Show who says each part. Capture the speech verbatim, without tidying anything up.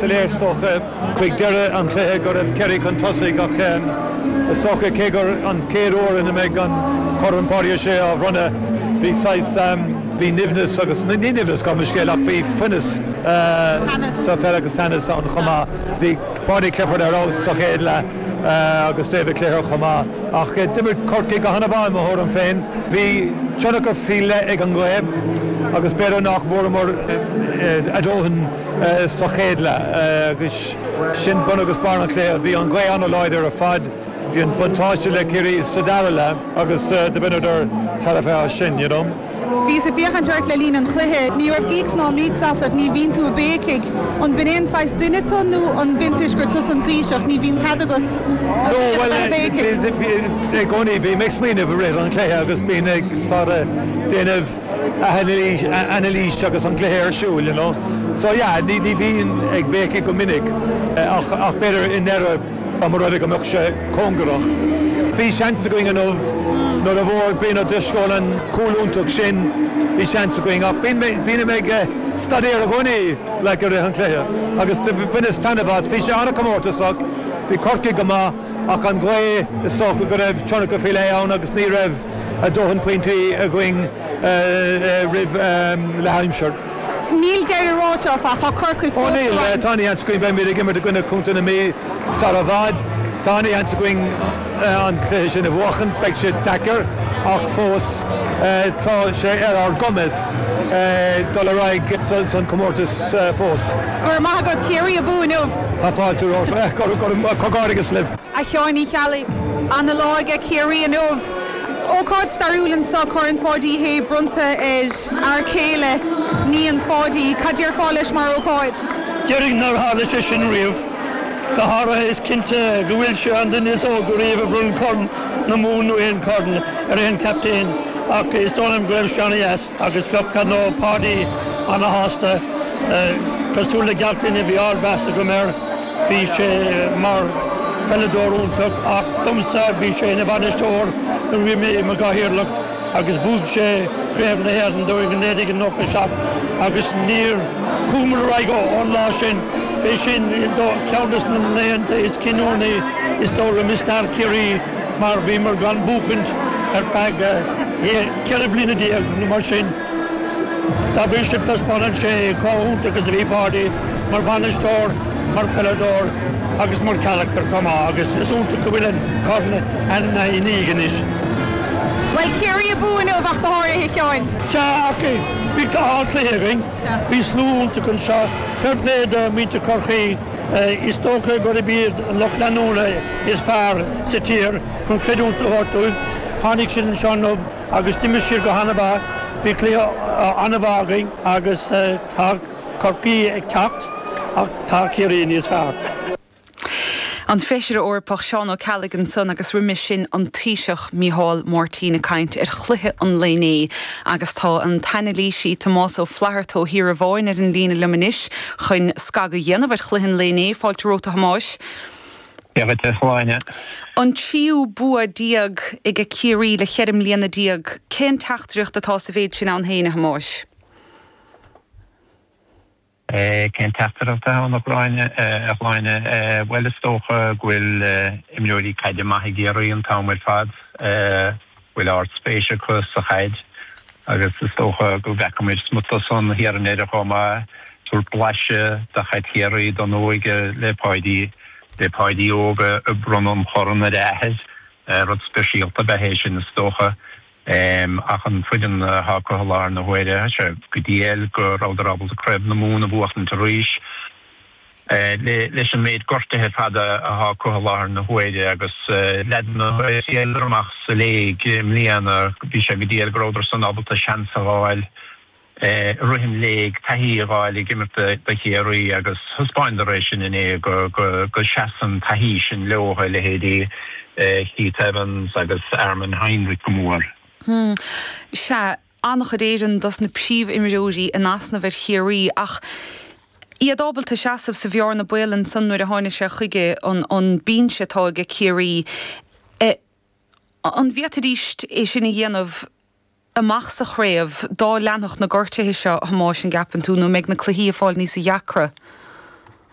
Speaker 1: Soiléir is dócha chuig deireadh an chluiche go raibh Ciarraí chun tosaigh ach is dócha cé gur an chéad uair ina mbeidh an Corn Páidí Ó Sé á bhronnadh bhí saghas bhí nimhneas agus ní nimhneas gabh mo leithscéal ach bhí fuinneamh sa pheil agus teannas ann chomh maith. Bhí Paudie Clifford ar fheabhas sa chéad leath agus David Clifford chomh maith. Ach d'imir Corcaigh go han-mhaith i mo thuairim féin. Bhí tionchar faoi leith ag an ngaoth agus b'fhéidir nach bhfuaireamar a ndóthain sa chéad leath agus sin bun agus barr an chluiche. Bhí an ghaoth an-láidir ar fad, bhí an buntáiste le Ciarraí sa dara leath agus do bhaineadar tairbhe as sin, you know.
Speaker 2: Bhíos ag féachaint ort le linn an chluiche, ní raibh gíocs ná míocs asat, ní bhíonn tú ag béicigh. An b'in aon saghas duine tú nó an b'in toisc gur tusa an Taoiseach, ní bhíonn cead agat
Speaker 1: No, well, i gcónaí bhí mé ag smaoineamh i rith an chluiche agus bím ag sort of déanamh anailís anailís agus an cluiche ar siúl, you know. So yeah, ní ní bhíonn ag béicigh go minic ach ach b'fhéidir i ndeireadh dá mba rud é go mbeadh sé cóngarach. Bhí seans againn inniu nuair a bhfuair Brian Ó Drisceoil an cúl iontach sin, bhí seans againn ach bíonn bím ag staidéar i gcónaí like i rith an chluiche agus bhaineas taitneamh as. Bhí sé an-chomórtasach, bhí Corcaigh go maith ach an ghaoth is dócha go raibh tionchar faoi leith ann agus ní raibh a dóthain pointí againn roimh leathaimsir.
Speaker 2: Níl deireadh ráite áfach, tá Corcaigh
Speaker 1: Ó
Speaker 2: fós
Speaker 1: níl,
Speaker 2: sa roinn.
Speaker 1: tá an-sheans againn beimid ag imirt i gcoinne Chontae na Mí sar i bhfad. Tá an-sheans againn an cluiche sin a bhuachan, beidh sé deacair ach fós tá sé ar ár gcumas dul ar aghaidh san comórtas fós.
Speaker 2: Go raibh maith agat Ciarraí abú inniu.
Speaker 1: Tá fáilte romhat comhghairdeas libh.
Speaker 2: A Sheáin Uí Cheallaigh an-lá ag Ciarraí inniu. Ócáid stairiúil anseo Corn Pháidí Uí Shé bronnta ar fhear céile níon Pháidí, Cad déarfá leis mar ócáid.
Speaker 3: Déarfainn nár tharla sé sin riamh. Go háirithe is cinnte go bhfuil sé an duine is óige riamh a bhronn Corn na Mumhan nó aon chorn ar aon chaptaen ach is dóigh liom go raibh sé an-deas agus bheadh nó Páidí an-sásta cosúil le gach duine bhí ardmheas agam air bhí sé mar pheileadóir iontach ach domsa bhí sé ina bhainisteoir nuair bhí mé i mo chathaoirleach agus bhuaigh sé Craobh na hÉireann dúinn in naoi déag nócha seacht agus níor chuamar ar aghaidh ón lá sin b'é sin ceann de na laethanta is cinniúnaí is dóigh liom i stair Chiarraí mar bhíomar gan buachaint ar feadh ceithre bliana déag nó mar sin. Dá bhrí sin taispeánann sé chomh hiontach is a bhí Páidí mar bhainisteoir, mar pheileadóir agus mar charachtar chomh maith agus is iontach go bhfuil an corn ina dhiaidh anois.
Speaker 2: Well Ciarraí abú inniu ach go háirithe a Sheáin.
Speaker 3: Sea ach bhí cluiche againn, bhí slua iontach anseo, fair play do mhuintir Chorcaí is dócha gurb iad an lucht leanúna is fearr sa tír chun creidiúint a thabhairt dóibh. Tháinig siad anseo inniu agus d'imir siad go han-mhaith, bhí cluiche an-mhaith againn agus tá Corcaigh ag teacht ach tá Ciarraí níos fearr.
Speaker 4: An Feisire Eorpach Seán Ó Ceallaigh ansan agus roimhe sin an Taoiseach Micheál Martin ag caint ar chluiche an lae inné agus tá an t-anailísí Tomás Ó Flatharta ó Thír Amháin ar an líne liom anois chun scagadh a dhéanamh ar chluiche an lae inné fáilte romhat a Thomáis.
Speaker 5: Shláine.
Speaker 4: An tríú bua déag ag Ciarraí le ceithre bliana déag, cén teachtaireacht atá sa mhéid sin ann féin a Thomáis?
Speaker 5: Cén teachtaireacht ann a Shláine bhuel is dócha go bhfuil imreoirí caide maith ag Ciarraí an t-am ar fad bhfuil ardspéis acu sa chaid agus is dócha go bhfeicfimid smut san thiar in Éire chomh maith tabhairt blaiseadh de chaid Chiarraí don óige le Páidí le Páidí óg ag bronnadh an chorn ar a athair rud speisialta ab ea é sin is dócha. ach an foireann atá acu i láthair na huaire sé go diail go rabhadar ábalta Craobh na Mumhan a bhuachtaint arís leis an méid gortuithe ar fad atá acu i láthair na huaire agus leaideanna amach sa léig i mbliana bhí sé go diail go rabhadar san ábalta seans a fháil i rith an léig taithí a fháil ag imirt do Chiarraí agus thaispeánadar é sin inné go go go seasann taithí sin leo a leithéidí Keith Evans agus Armin Heinrich go mór.
Speaker 4: Hmm. Sea an-chuid Éireann dos na príomhimreoirí in easnamh ar Chiarraí ach iad ábalta seasamh sa bhearna baol ansan nuair a tháinig sé chuige an an binse atá ag Ciarraí. E, an bhféadfaidís é sin a dhéanamh amach sa chraobh dá leanfadh na gortuithe seo Thomáis an gceapann tú nó mbeidh na cluichí ag fáil níos deacra.